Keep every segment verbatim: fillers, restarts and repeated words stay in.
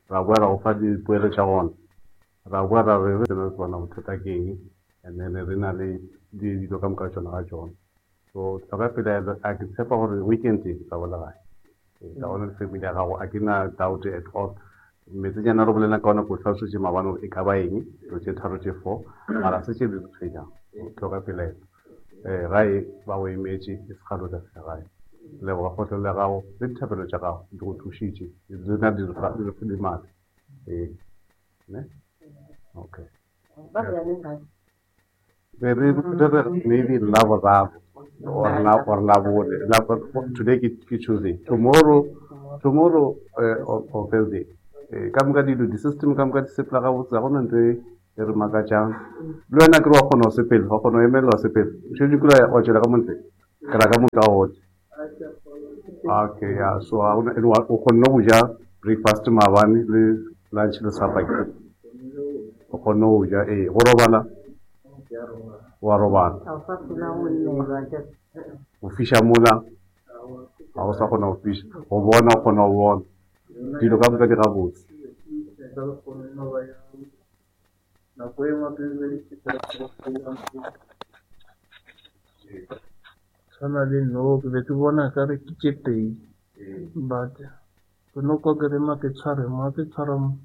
Ra boa ra go fa dipoelo tša gona. Ra boa ra re re tsebe bona bothata ke eng, and then re na le dilo ka moka tšona ga tšona. So hloka pelaelo, a ke tshepa gore weekend e tla boela gae. Tla bona le family ya gago, a ke na doubt at all. Metsenyana re bolela ka ona ko hlalosetše maabane gore e ka ba eng, dilo tše tharo tše four, mara se tše di re tshwenyang. Hloka pelaelo. Eh, gae ba go emetše, e se kgale o tla fihla gae. Leboga kgotlelelo ya gago le dithapelo tša gago di go thušitše, di na di re di matla. Ee, ne? Okay. Be re re maybe Laboraro or la or Labone. Today ke Tuesday. Tomorrow, tomorrow uh, or, or Thursday. Ka moka dilo di-system ka moka di sepela gabotse, ga gona ntho e re makatšang. Le wena ke re wa kgona go sepela, wa kgona go emelela wa sepela. O šetše kula wa tšwela ka mo ntle, ke ra ka mo ntle wa. Okay, yeah, so ga gona, o kgonne go ja breakfast maabane le lunch le supper. O kgonne go ja, ee, go robala, wa robala. Go fiša mola, ga o sa kgona go fiša, go bona o kgona go bona. Dilo ka moka di gabotse. Tshwana le no, ke be ke bona ka re ke tše pedi, but ke no kwa ke re ma ke tshware mo, ke tshwara mo.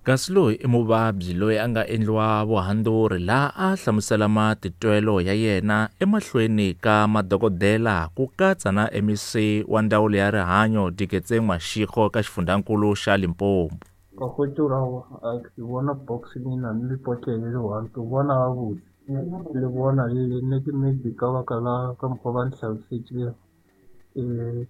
Kasi loyi i muvabyi loyi a nga endliwa vuhandzuri laha a hlamusela matitwelo ya yena emahlweni ka madokodela ku katsa na M E C wa ndzawulo ya rihanyo Diketseng Mashego ka xifundzankulu xa Limpopo. Ka hwetša gore aowa, a ke bona box le na le potlele le one, ke bona gabotse. Le bona le le nne ke maybe ka baka la ka mokgwa ba ntlhalosetšego. Eh,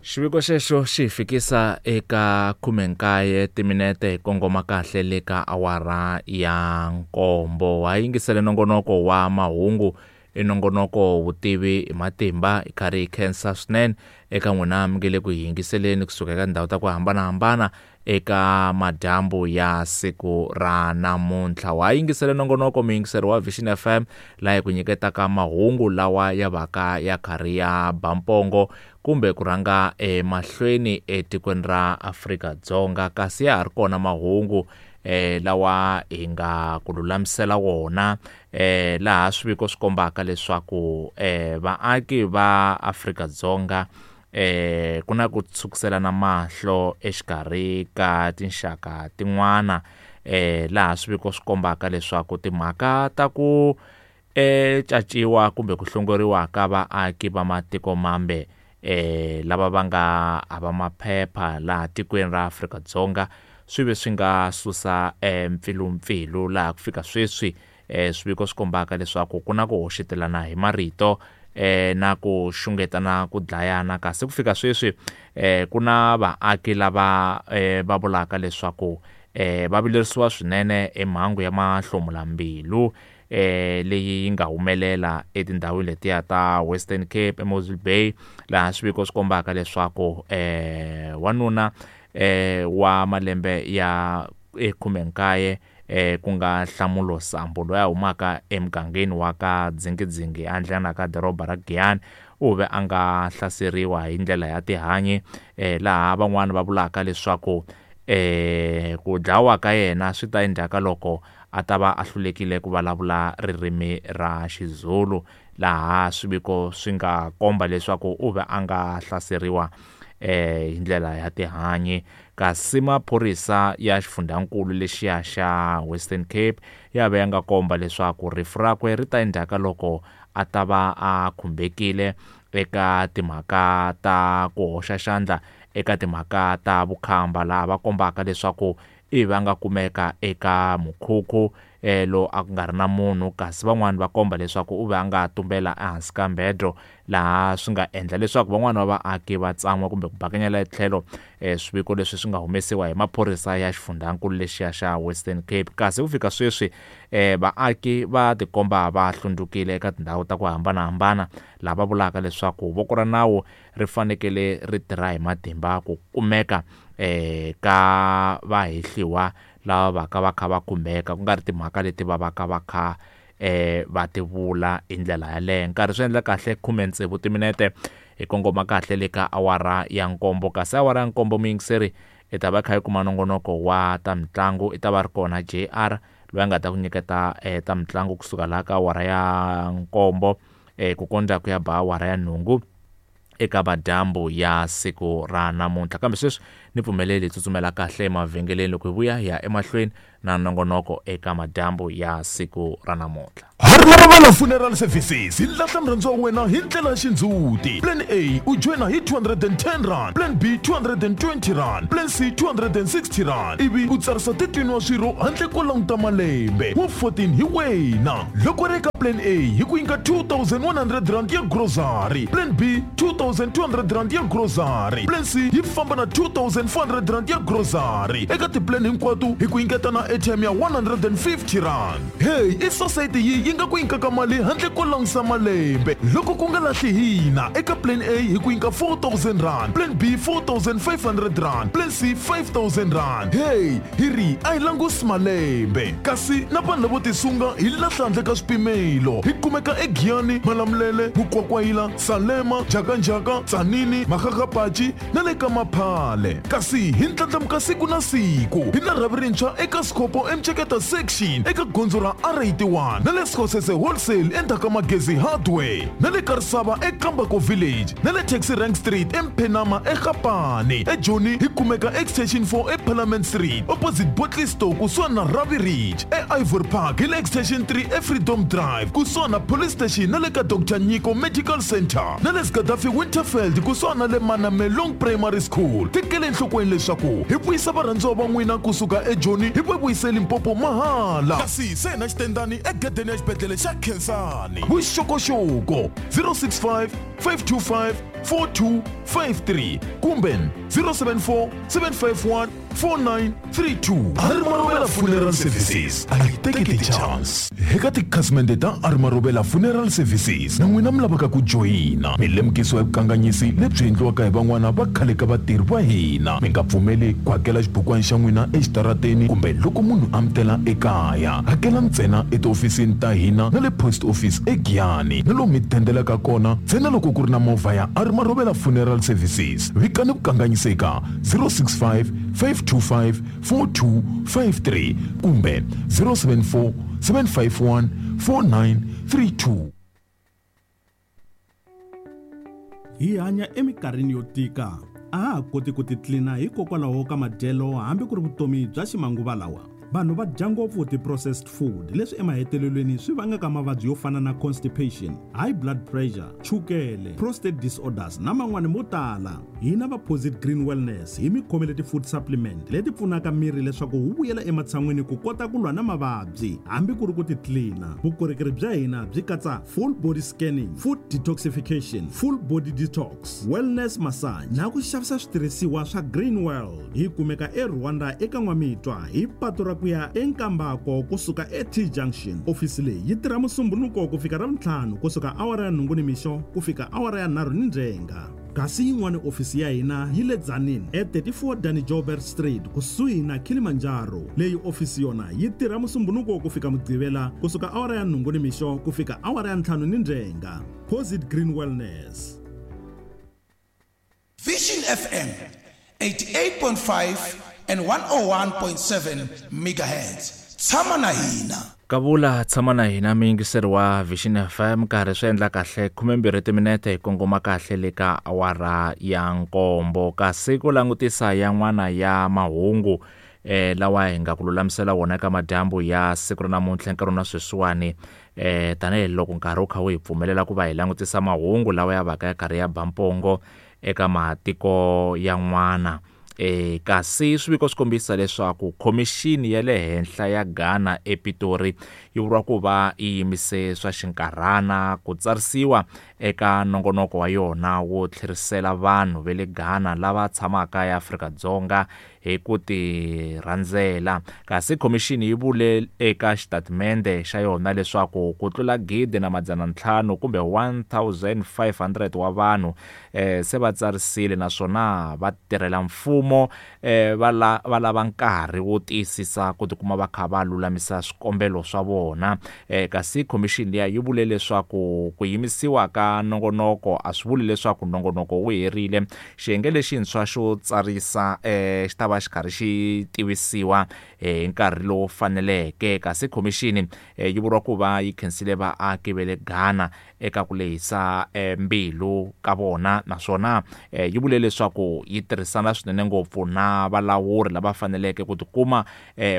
Xiviko xexo xi fikisa eka khumenkaye timinete hi kongoma kahle le ka awara ya nkombo. Ha yingisele nongonoko wa mahungu, i nongonoko vutivi hi matimba, hi karhi hi khensa swinene eka n'wina mi nge le ku yingiseleni kusuka eka tindhawu ta ku hambanahambana eka madyambu ya siku ra namuntlha. Wa yingisele nongonoko muyingiseri wa Vision F M laha hi ku nyiketaka mahungu lawa ya vaka ya karhi ya ba mpongo kumbe ku rhanga emahlweni etikweni ra Afrika-Dzonga, kasi ya ha ri kona mahungu eh lawa hi nga ku lulamisela wona eh laha swiviko swi kombaka leswaku eh vaaki va Afrika-Dzonga eh ku na ku tshukiselana mahlo exikarhi ka tinxaka tin'wana eh laha swiviko swi kombaka leswaku timhaka ta ku eh caciwa kumbe ku hlongoriwa ka vaaki va matiko mambe eh lava va nga hava maphepha laha tikweni ra Afrika-Dzonga swi ve swi nga susa mpfilumpfilu laha ku fika sweswi eh swiviko swi kombaka leswaku ku na ku hoxetelana hi marito eh na ku xungetana ku dlayana, kasi ku fika sweswi eh ku na vaaki lava eh va vulaka leswaku eh va vilerisiwa swinene emhangu ya mahlomulambilu eh leyi yi nga humelela etindhawini letiya ta Western Cape eMossel Bay, laha swiviko swi kombaka leswaku eh wanuna eh wa malembe ya khumenkaye eh ku nga Nhlamulo Sambo loyi a humaka emugangeni wa ka Dzingidzingi endlana ka doroba ra Giyani u ve a nga hlaseriwa hi ndlela ya tihanyi eh laha van'wana va vulaka leswaku eh ku dlawa ka yena swi ta endzhaku ka loko a ta va a hlulekile ku vulavula ririmi ra Xizulu, laha swiviko swi nga komba leswaku u ve a nga hlaseriwa eh hi ndlela ya tihanyi. Kasi maphorisa ya xifundzankulu lexiya xa Western Cape ya ve ya nga komba leswaku rifu rakwe ri ta endzhaku ka loko a ta va a khumbekile eka timhaka ta ku hoxa xandla eka timhaka ta vukhamba, laha va kombaka leswaku i va nga kumeka eka mukhukhu eh lo a ku nga ri na munhu, kasi van'wani va komba leswaku u ve a nga tumbela ehansi ka mbedro, laha swi nga endla leswaku van'wani va vaaki va tsan'wa kumbe ku bakanyela etlhelo eh swiviko leswi swi nga humesiwa hi maphorisa ya xifundzankulu lexiya xa Western Cape. Kasi ku fika sweswi eh vaaki va tikomba va hlundzukile eka tindhawu ta ku hambanahambana, lava vulaka leswaku voko ra nawu ri fanekele ri tirha hi matimba ku kumeka eh ka vahehliwa lava va ka va kha va khumbeka, ku nga ri timhaka leti va va ka va kha eh va ti vula hi ndlela yaleyo. Nkarhi swi endla kahle khume tsevu timinete hi kongoma kahle le ka awara ya nkombo, kasi awara ya nkombo muyingiseri i ta va kha yi kuma nongonoko wa ta mitlangu, i ta va ri kona J R loyi a nga ta ku nyiketa eh, ta mitlangu kusuka laha ka awara ya nkombo eh, ku kondza ku ya ba awara ya nhungu eka madyambu ya siku ra namuntlha. Kambe sweswi ni pfumeleli hi tsutsumela kahle emavhengeleni loko hi vuya hi ya emahlweni na nongonoko eka madyambu ya siku ra namuntlha. Harmarobela Funeral Services hi lahla murhandziwa wa wena hi ndlela ya xindzhuti. Plan A u joyina hi two hundred and ten rand, Plan B two hundred and twenty rand, Plan C two hundred and sixty rand, ivi u tsarisa thirteen wa swirho handle ko languta malembe wa fourteen hi wena. Loko ri eka Plan A hi ku nyika two thousand one hundred rand ya grocery, Plan B two thousand two hundred rand ya grocery, Plan C yi famba na two thousand four hundred rand ya grocery. Eka tiplan hinkwato hi ku nyiketa na airtime ya one hundred and fifty rand. Hey, i society yi yi nga ku nyikaka mali handle ko langusa malembe. Loko ku nga lahli hina, eka Plan A hi ku nyika four thousand rand, Plan B four thousand five hundred rand, Plan C five thousand rand. Hey, hi ri a hi langusi malembe. Kasi na vanhu lavo tisunga hi lahla handle ka swipimelo. Hi kumeka eGiyani, Malamulele, Mukwakwayila, Salema, Jakanjaka, Tsanini, Makgakgapachi na le ka Maphale. Kasi hi ndlandlamuka siku na siku. Hi na rhavi rintshwa eka Scopo eMcheketa section eka gondzo ra R eighty-one na le Skosese Wholesale endzhaku ka Magezi Hardware na le Karisava eKambako Village na le Taxi Rank Street eMphenama eGapane. eJoni hi kumeka Extension four eParliament Street opposite Botley Store kusuhani na Ravi Ridge. E-Ivory Park hi le Extension three eFreedom Drive kusuhani na Police Station na le ka Doctor Nyiko Medical Center na le Gaddafi Winterfeld kusuhani na le Manamelong Primary School. Tekele enhlokweni leswaku hi vuyisa varhandziwa va n'wina kusuka eJoni hi va vuyise Limpopo mahala. Kasi se na xitendani egedeni ya xibedhlele xa Khensani. Vuxokoxoko zero six five, five two five, four two five three kumbe zero seven four, seven five one, four nine three two. Armarobela Funeral Services a yi teki ti-chance. Eka tikhasimende ta Armarobela Funeral Services na n'wina mi lavaka ku joyina, mi lemukisiwa hi vukanganyisi lebyi endliwaka hi van'wana va khale ka vatirhi va hina. Mi nga pfumeli ku hakela xibukwana xa n'wina exitarateni kumbe loko munhu a mi tela ekaya. Hakela ntsena etihofisini ta hina na le post office eGiyani na lomu mi dendelaka kona ntsena loko ku ri na movha ya Armarobela Funeral Services. Vikani vukanganyisi eka zero six five, five two five, four two five three kumbe zero seven four, seven five one, four nine three two. Hi hanya eminkarhini yo tika, a ha ha koti ku titlina hikokwalaho ka madyelo hambi ku ri vutomi bya ximanguva lawa. Vanhu va dya ngopfu ti-processed food leswi emahetelelweni swi vangaka mavabyi yo fana na constipation, high blood pressure, chukele, prostate disorders na man'wani mo tala. Hina va Posit Green Wellness hi mi khomele ti-food supplement leti pfunaka miri leswaku wu vuyela ematshan'wini ku kota ku lwa na mavabyi hambi ku ri ku titlina. Vukorhokeri bya hina byi katsa full body scanning, food detoxification, full body detox, wellness massage na ku xavisa switirhisiwa swa Green World. Hi kumeka eRwanda eka N'wamitwa hi patu ra ku ya eNkambako kusuka e-T Junction. Ofisi leyi yi tirha Musumbhunuko ku fika Ravuntlhanu kusuka awara ya nhungu nimixo ku fika awara ya nharhu ni ndzhenga. Kasi yin'wana ofisi ya hina yi le Tzaneen e thirty-four Danny Joubert Street kusuhi na Kilimanjaro. Leyi ofisi yona yi tirha Musumbhunuko ku fika Mugqivela kusuka awara ya nhungu nimixo ku fika awara ya ntlhanu ni ndzhenga. Posit Green Wellness. Vision F M eighty-eight point five and one oh one point seven megahertz. Tshama na hina. Kavula tshama na hina muyingiseri wa Vision F M, nkarhi swi endla kahle khume mbirhi timinete hi kongoma kahle le ka awara ya nkombo. Kasi ku langutisa yan'wana ya mahungu eh lawa hi nga ku lulamisela wona eka madyambu ya siku ra namuntlha nkarhi na sweswiwani eh tanihiloko nkarhi wu kha wu hi pfumelela ku va hi langutisa mahungu lawa ya vaka ya karhi ya ba mpongo eka matiko yan'wana. E, kasi swiviko swi kombisa leswaku khomixini ya le henhla ya Ghana ePitori yi vuriwa ku va yi yimise swa xinkarhana ku tsarisiwa eka nongonoko wa yona wo tlherisela vanhu va le Ghana lava tshamaka eAfrika-Dzonga hi ku tirhandzela. Kasi khomixini yi vule eka xitatimende xa yona leswaku ku tlula gidi na madzana ntlhanu kumbe one thousand five hundred wa vanhu eh, se va tsarisile naswona va tirhela mfumo eh, va la, va lava nkarhi wo tiyisisa ku tikuma va kha va lulamisa swikombelo swa vona. Eh, kasi khomixini liya yi vule leswaku ku yimisiwa ka nongonoko a swi vuli leswaku nongonoko wu herile. Xiyenge lexintshwa xo tsarisa eh, xi ta va xi karhi xi tivisiwa hi nkarhi lowu faneleke. Kasi khomixini yi vuriwa ku va yi khensile vaaki va le Ghana eka ku lehisa mbilu ka vona, naswona yi vule leswaku yi tirhisana swinene ngopfu na valawuri lava faneleke ku tikuma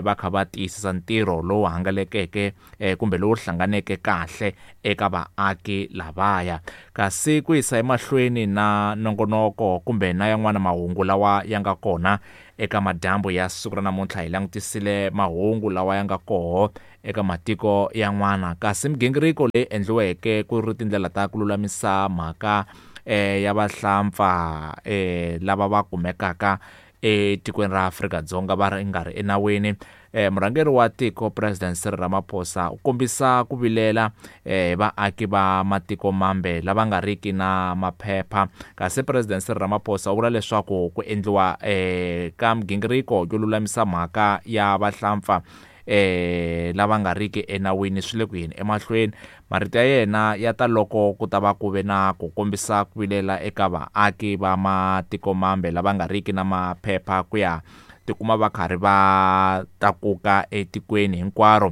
va kha va tiyisisa ntirho lowu hangalakeke kumbe lowu hlanganeke kahle eka vaaki lavaya. Kasi ku yisa emahlweni na nongonoko kumbe na yan'wana mahungu lawa ya nga kona eka madyambu ya siku ra namuntlha, hi langutisile mahungu lawa ya nga koho eka matiko yan'wana. Kasi migingiriko leyi endliweke ku ri tindlela ta ku lulamisa mhaka eh, ya vahlampfa eh, lava va kumekaka etikweni ra Afrika-Dzonga va ri nga ri enawini. Eh, murhangeri wa tiko President Cyril Ramaphosa u kombisa ku vilela eh, vaaki va matiko mambe lava nga riki na maphepha. Kasi President Cyril Ramaphosa u vula leswaku ku endliwa eh, ka migingiriko yo lulamisa mhaka ya vahlampfa eh, lava nga riki enawini swi le ku yeni emahlweni. Marito ya yena ya ta loko ku ta va ku ve na ku kombisa ku vilela eka vaaki va matiko mambe lava nga riki na maphepha ku ya tikuma va karhi va tlakuka etikweni hinkwaro.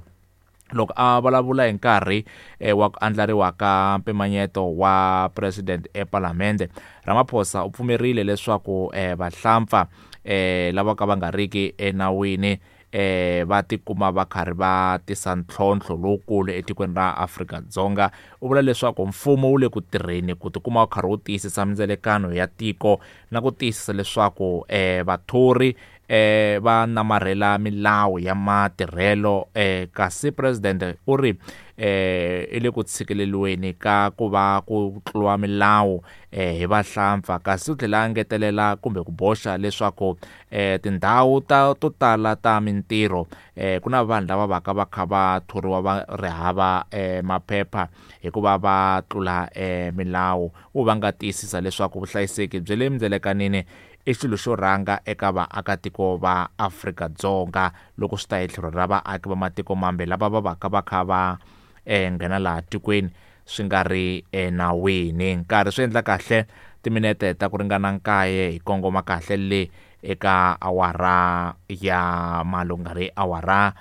Loko a vulavula hi nkarhi eh, wa ku andlariwa ka mpimanyeto wa president epalamende, Ramaphosa u pfumerile leswaku eh, vahlampfa eh, lava ka va nga riki enawini eh, va tikuma va karhi va tisa ntlhontlho lowukulu etikweni ra Afrika-Dzonga. U vula leswaku mfumo wu le ku tirheni ku tikuma wu karhi wu tiyisisa mindzelekano ya tiko na ku tiyisisa leswaku eh, vathori eh, va namarhela milawu ya matirhelo. eh, kasi president u ri eh, i le ku tshikeleriweni ka ku va ku tluriwa milawu eh, hi vahlampfa. Kasi u tlhela a ngetelela kumbe ku boxa leswaku eh, tindhawu ta to tala ta mintirho eh, ku na vanhu lava vaka va kha va thoriwa va ri hava eh, maphepha hikuva va tlula eh, milawu. U va nga tiyisisa leswaku vuhlayiseki bya le mindzelekanini i xilo xo rhanga eka vaakatiko va Afrika-Dzonga loko swi ta hi tlhelo ra vaaki va matiko mambe lava va vaka va kha va eh, nghena laha tikweni swi nga ri enawini. Nkarhi swi endla kahle timinete ta ku ringana nkaye hi kongoma kahle le eka awara ya malungari awara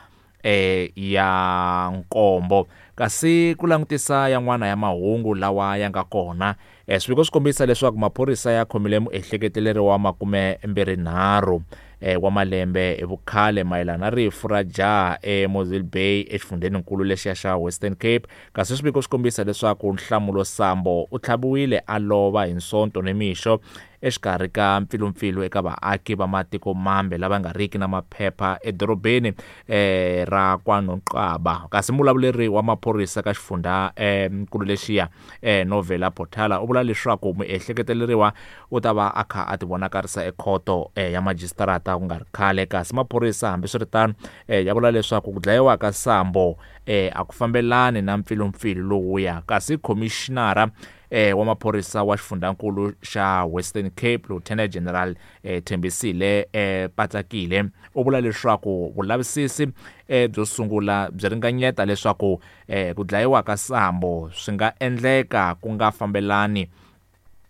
eh, ya nkombo. Kasi ku langutisa yan'wana ya mahungu lawa ya nga kona, eh, swiviko swi kombisa leswaku maphorisa ya khomile muehleketeleri wa makume mbirhi nharhu eh, wa malembe hi vukhale mayelana na rifu ra jaha eMossel Bay exifundzenikulu lexiya xa Western Cape. Kasi swiviko swi kombisa leswaku Nhlamulo Sambo u tlhaviwile a lova hi Sonto nimixo exikarhi ka mpfilumpfilu eka vaaki va matiko mambe lava nga riki na maphepha edorobeni eh, ra KwaNonqaba. Kasi mulavuleri wa maphorisa ka xifundza eh, nkulu lexiya eh, Novela Potala u vula leswaku muehleketeleriwa u ta va a kha a tivonakarisa ekhoto eh, ya majisitarata ku nga ri khale. Kasi maphorisa hambiswiritano eh, ya vula leswaku ku dlayiwa ka Sambo eh, a ku fambelani na mpfilumpfilu lowuya. Kasi khomixinara eh, wa maphorisa wa xifundzankulu xa Western Cape Lieutenant General eh, Thembisile eh, Patsakile u vula leswaku vulavisisi eh, byo sungula byi ringanyeta leswaku eh, ku dlayiwa ka Sambo swi nga endleka ku nga fambelani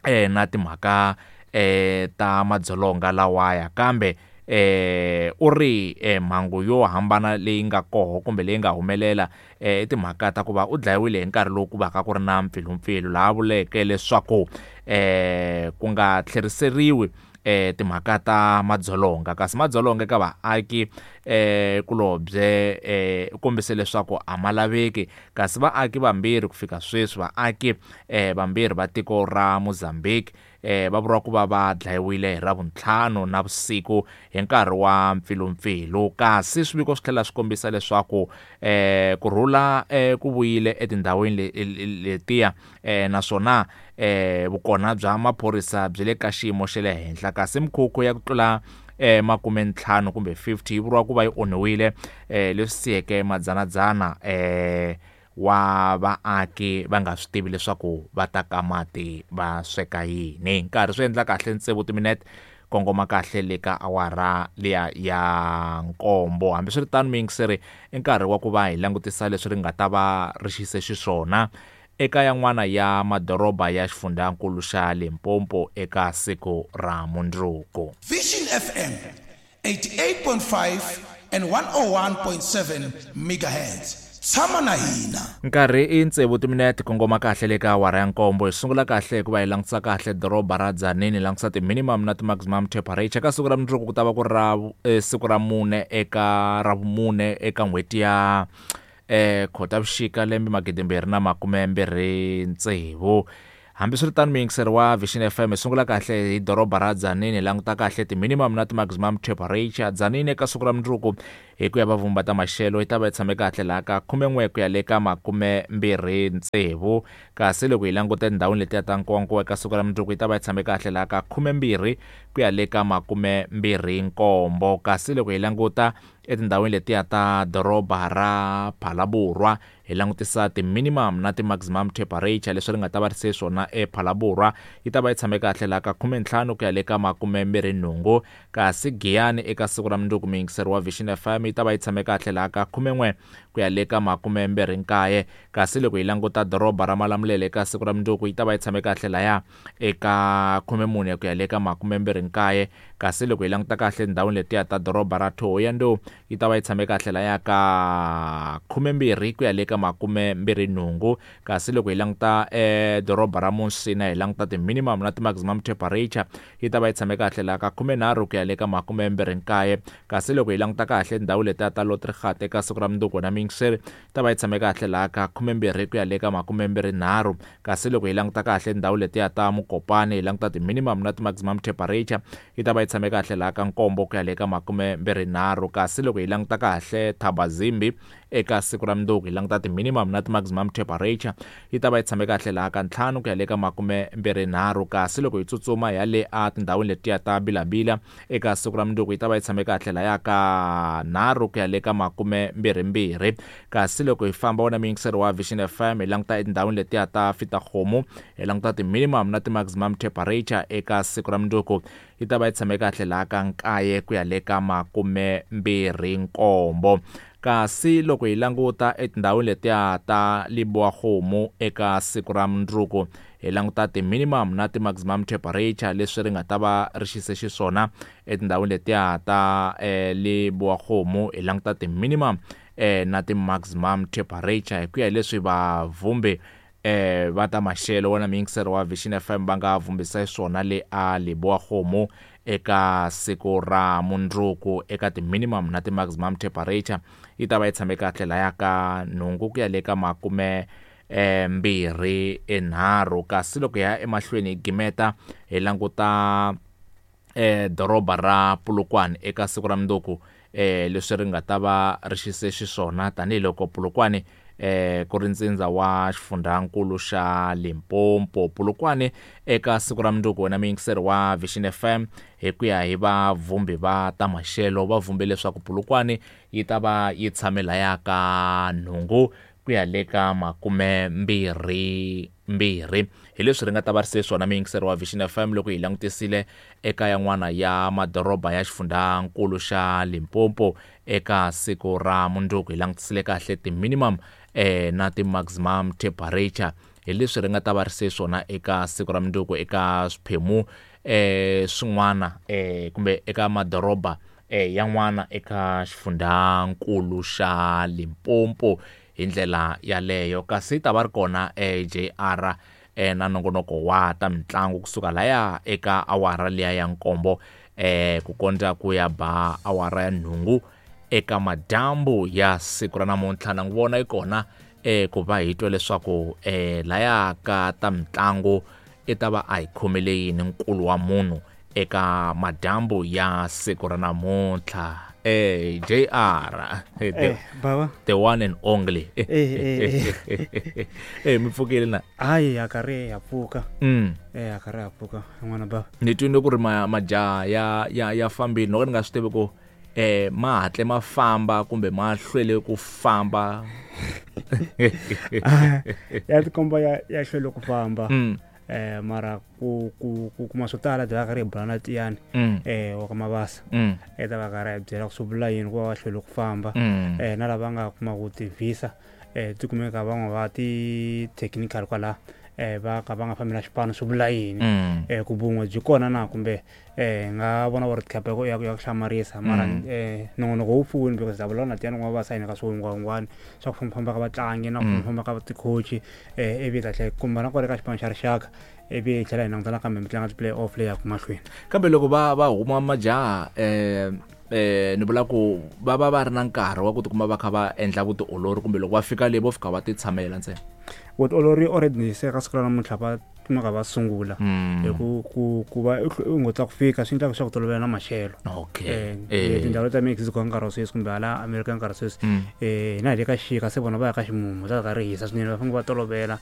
eh, na timhaka eh, ta madzolonga lawaya, kambe eh, u ri eh, mhangu yo hambana leyi nga koho kumbe leyi nga humelela eh, i timhaka ta ku va u dlayiwile hi nkarhi lowu ku vaka ku ri na mpfilumpfilu, laha vuleke leswaku eh ku nga tlheriseriwi eh timhaka ta madzolonga. Kasi madzolonga eka vaaki eh kulobye eh kombise leswaku a ma laveki, kasi vaaki vambirhi ku fika sweswi vaaki eh vambirhi va tiko ra Mozambique eh va vuriwa ku va va dlayiwile hi Ravuntlhanu na vusiku hi nkarhi wa mpfilumpfilu. Kasi swiviko swi tlhela swi kombisa leswaku eh kurhula eh ku vuyile etindhawini letiya eh naswona eh vukona bya maphorisa byi le ka xiyimo xa le henhla. Kasi mikhukhu ya ku tlula eh makume ntlhanu kumbe fifty yi vuriwa ku va yi onhiwile eh leswi siyeke madzanadzana eh wa vaaki va nga swi tivi leswaku va ta ka mati va sweka yini. Nkarhi swi endla kahle tsevu timinete kongoma kahle le ka awara liya ya nkombo. Hambiswiritano muyingiseri, i nkarhi wa ku va hi langutisa leswi ri nga ta va ri xise xiswona eka yan'wana ya madoroba ya xifundzankulu xa Limpopo eka siku ra mundzuku. Vision F M eighty-eight point five and one oh one point seven megahertz. Tshama na hina. Nkarhi i tsevu timinete kongoma kahle le ka awara ya nkombo. Hi sungula kahle hikuva hi langutisa kahle doroba ra Tzaneen, hi langutisa ti-minimum na ti-maximum temperature. Ka siku ra mundzuku ku ta va ku ri ra eh, siku ra mune eka ra vumune eka n'hweti ya eh Khotavuxika lembe magidi mbirhi na makume mbirhi tsevu. Hambiswiritano muyingiseri wa Vision F M, hi sungula kahle hi doroba ra Tzaneen, hi languta kahle ti-minimum na ti-maximum temperature. Tzaneen eka siku ra mundzuku hi ku ya va vumba ta maxelo yi ta va yi tshame kahle laha ka khumen'we ku ya le ka makume mbirhi tsevu. Kasi loko hi languta etindhawini letiya ta Nkowankowa eka siku ra mundzuku yi ta va yi tshame kahle laha ka khumembirhi ku ya le ka makume mbirhi nkombo. Kasi loko hi languta etindhawini letiya ta doroba ra Phalaborwa, hi langutisa ti-minimum na ti-maximum temperature leswi ri nga ta va ri se swona ePhalaborwa, yi ta va yi tshame kahle laha ka khumentlhanu ku ya le ka makume mbirhi nhungu. Kasi Giyani eka siku ra mundzuku muyingiseri wa Vision F M yi ta va yi tshame kahle laha ka khumen'we ku ya le ka makume mbirhi nkaye. Kasi loko hi languta doroba ra Malamulele eka siku ra mundzuku yi ta va yi tshame kahle laya eka khumemune ku ya le ka makume mbirhi nkaye. Kasi loko hi languta kahle tindhawini letiya ta doroba ra Thohoyandou yi ta va yi tshame kahle laya ka khumembirhi ku ya le ka makume mbirhi nhungu. Kasi loko hi languta eh doroba ra Musina, hi languta ti-minimum na ti-maximum temperature yi ta va yi tshame kahle laha ka khumenharhu ku ya le ka makume mbirhi nkaye. Kasi loko hi languta kahle tindhawu letiya ta Lotrigat eka siku ra mundzuku na muyingiseri yi ta va yi tshame kahle laha ka khumembirhi ku ya le ka makume mbirhi nharhu. Kasi loko hi languta kahle tindhawu letiya ta Mokopane, hi languta ti-minimum na ti-maximum temperature yi ta va yi tshame kahle laha ka nkombo ku ya le ka makume mbirhi nharhu. Kasi loko hi languta kahle Thabazimbi eka siku ra mundzuku hi languta ti-minimum na ti-maximum temperature yi ta va yi tshame kahle laha ka ntlhanu ku ya le ka makume mbirhi nharhu. Kasi loko hi tsutsuma ya le a tindhawini letiya ta Bilabila eka siku ra mundzuku yi ta va yi tshame kahle laya ka nharhu ku ya le ka makume mbirhi mbirhi. Kasi loko hi famba wona muyingiseri wa Vision F M hi languta etindhawini letiya ta Fitahome, hi languta ti-minimum na ti-maximum temperature eka siku ra mundzuku yi ta va yi tshame kahle laha ka nkaye ku ya le ka makume mbirhi nkombo. Kasi loko hi languta etindhawini letiya ta Lebowakgomo eka siku ra mundzuku hi languta ti-minimum na ti-maximum temperature leswi ri nga ta va ri xise xiswona etindhawini letiya ta eh, Lebowakgomo, hi languta ti-minimum eh, na ti-maximum temperature hi ku ya hi leswi vavhumbi eh va ta maxelo wona muyingiseri wa Vision F M va nga vhumbisa swona le a Lebowakgomo eka siku ra mundzuku eka ti-minimum na ti-maximum temperature yi ta va yi tshame kahle laya ka nhungu ku ya le ka makume eh mbirhi enharhu. Kasi loko hi ya emahlweni hi gimeta hi languta eh doroba ra Polokwane eka siku ra mundzuku eh leswi ri nga ta va ri xise xiswona tanihiloko Polokwane eh ku ri ntsindza wa xifundzankulu xa Limpopo. Polokwane eka siku ra mundzuku wena muyingiseri wa Vision F M hi ku ya hi vavhumbi va ta maxelo va vhumbe leswaku Polokwane yi ta va yi tshame laya ka nhungu ku ya le ka makume mbirhi mbirhi. Hi leswi ri nga ta va ri se swona muyingiseri wa Vision F M loko hi langutisile eka yan'wana ya madoroba ya xifundzankulu xa Limpopo eka siku ra mundzuku hi langutisile kahle ti-minimum eh na ti-maximum temperature. Hi leswi ri nga ta va ri se swona eka siku ra mundzuku eka swiphemu eh swin'wana eh kumbe eka madoroba eh yan'wana eka xifundzankulu xa Limpopo hi ndlela yaleyo. Kasi ta va ri kona eh J R eh, na nongonoko wa ta mitlangu kusuka laya eka awara liya ya nkombo eh, ku kondza ku ya ba awara ya nhungu eka madyambu ya siku ra namuntlha. Na n'wi vona yi kona eh, ku va hi twa leswaku eh, laya ka ta mitlangu i ta va a hi khomele yini nkulu wa munhu eka madyambu ya siku ra namuntlha. Eh, J R, eh, the, Eh, baba the one and only. Eh, eh, eh, eh mi pfukile na? Hayi, ya karhi ya pfuka. Mm. Eh, ya karhi ya pfuka n'wana baba. Ni twile ku ri ma majaha ya ya ya fambile, no ka ni nga swi tivi ku eh ma hatle ma famba kumbe ma hlwele ku famba. Ya tikomba ya ya hlwele ku famba. Mm. Eh, mara ku ku ku kuma swo tala bya karhi hi bula na Tiyani Mm. eh wa ka Mabasa. Mm. E ta va karhi hi byela ku swi vula yini ku va va hlwele ku famba. Mm. Eh, na lava nga kuma ku ti-visa eh ti kumeka van'we va ti-technical kwala eh va ka va nga fambi na xipano, swi vula yini. Mm. Eh, ku vun'we byi kona na kumbe eh nga vona World Cup ya ku ya ku hlamarisa mara Mm. eh nongonoko wu pfuni because ta vulavula na Tiyani wa Mabasa yini ka swihungwahungwani swa ku fambafamba ka vatlangi na ku Mm. fambafamba ka ti-coach eh ivi ta tlhela kumba na kwale ka xipano xa rixaka, ivi hi tlhela hi languta nakambe mitlangu ya ti-play off leyi yaka mahlweni. Kambe loko va va huma majaha eh eh ni vula ku va va va ri na nkarhi wa ku tikuma va kha va endla vutiolori, kumbe loko va fika le vo fika va ti tshamela ntsena? Vutiolori already se ka siku ra namuntlha va kumeka va sungula. Mm. Hi ku ku ku va u ngotla ku fika swi endla leswaku tolovela na maxelo. Okay. Eh, Eh. tindhawu ta Mexico nkarhi wa sweswi kumbe hala America nkarhi wa sweswi Mm. eh hina hi le ka xixika, se vona va ya ka ximumu, ta karhi hisa swinene, va fanele va tolovela.